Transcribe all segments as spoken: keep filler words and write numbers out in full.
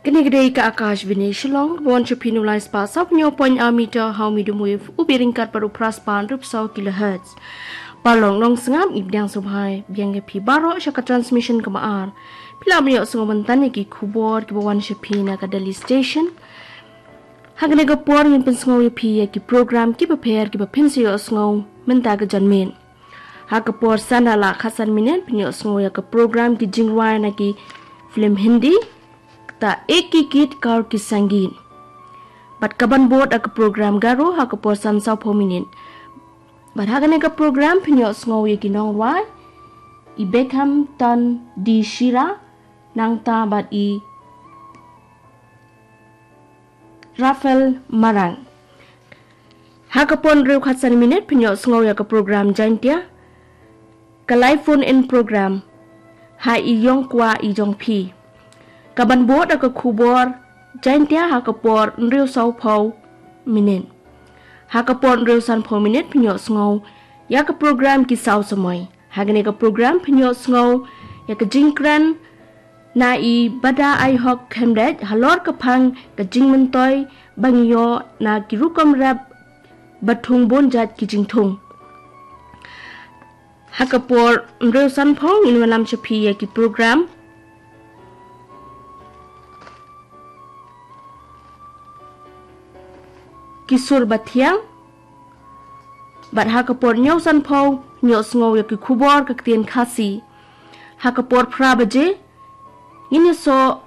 Kane ka dei ka Akashvani Shillong, ka wan sha phi na u lai spah saw phew point ar meter ha u medium wave, u bit ryngkat bad u phra spah hynriew phew saw kilohertz. Paralok nongsngap, ngi pdiang sngewbha biang ïa phi baroh sha ka transmission kaba ar. Phi lah ban ïohsngew mynta ïa ki khubor kiba wan sha phi na ka Delhi Station. Ha kane ka por ngin pynsngew ïa phi ïa ki program kiba pher kiba phin sa ïohsngew mynta ka janmiet. Ha ka por san da la khatsan minit phin ïohsngew ïa ka program ki jingrwai na ki film Hindi, kata Ek Hi Geet Kar Ki Sangeet. Bad kaban bud da ka program Garo ha ka por san saw phew minit. Bad ha kane ka program phin ïohsngew ïa ki nongrwai, i Beckham Tan Di Shira, nangta bad i Rafael Marang. Ha ka por hynriew khatsan minit phin ïohsngew ïa ka program Jaintia, ka live phone in program, ha i ïong kwah i jong phi. Kaban bud da ka khubor Jaintia ha ka por hynriew saw phew minit. Ha ka por hynriew san phew minit phin ïohsngew ïa ka program Ki Saw Samoi. Ha kane ka program phin ïohsngew ïa ka jingkren na i Bada Aihok Khemdej halor ka phang ka jingmyntoi ba ngi ïoh na ki rukom rep ba thung bun jait ki jingthung. Ha ka por hynriew san phew ngin wanlam sha phi ïa ki program Ki Sur Bathiang. Bad ha ka por hynñiew san phew ngin ïohsngew ïa ki khubor ka ktien Khasi. Ha ka por phra baje ngin ïasoh,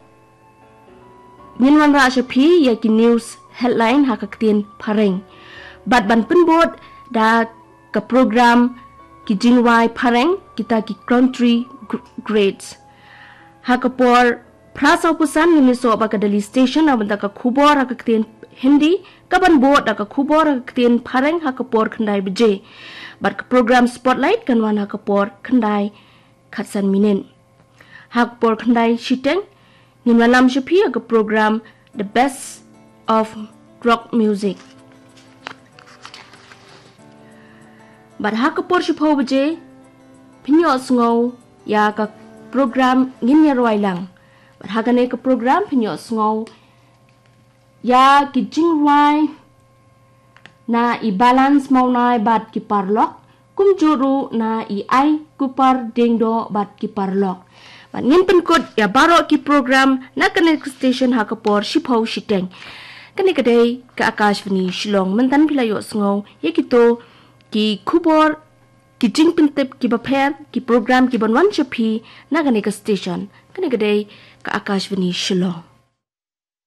ngin wanrah sha phi ïa ki news headline ha ka ktien Phareng. Bad ban pynbud da ka program Ki Jingrwai Phareng, kita ki country gr- grades. Ha ka por phra saw phew san ngin ïasoh bad ka Delhi Station na bynta ka khubor ha ka ktien Hindi, kaban bud da ka khubor ha ka ktien Phareng ha ka por khyndai baje. Bad ka program Spotlight kan wan ha ka por khyndai khatsan minit. Ha ka por khyndai shiteng ngin wanlam sha phi ïa ka program The Best of Rock Music. Bad ha ka por shiphew baje phin ïohsngew ïa ka program Ngin Ïarwai Lang. Bad ha kane ka program phin ïohsngew ïa ki jingrwai na i Balance Mawnai bad ki paralok, kumjuh ruh na i Ai Kupar Diengdoh bad ki paralok. Bad ngin pynkut ïa baroh ki program na kane ka station ha ka por shiphew shiteng. Kane ka dei ka Akashvani Shillong, mynta phi la ïohsngew ïa kito ki khubor, ki jingpyntip kiba pher, ki program kiban wan sha phi na kane ka station. Kane ka dei ka Akashvani Shillong.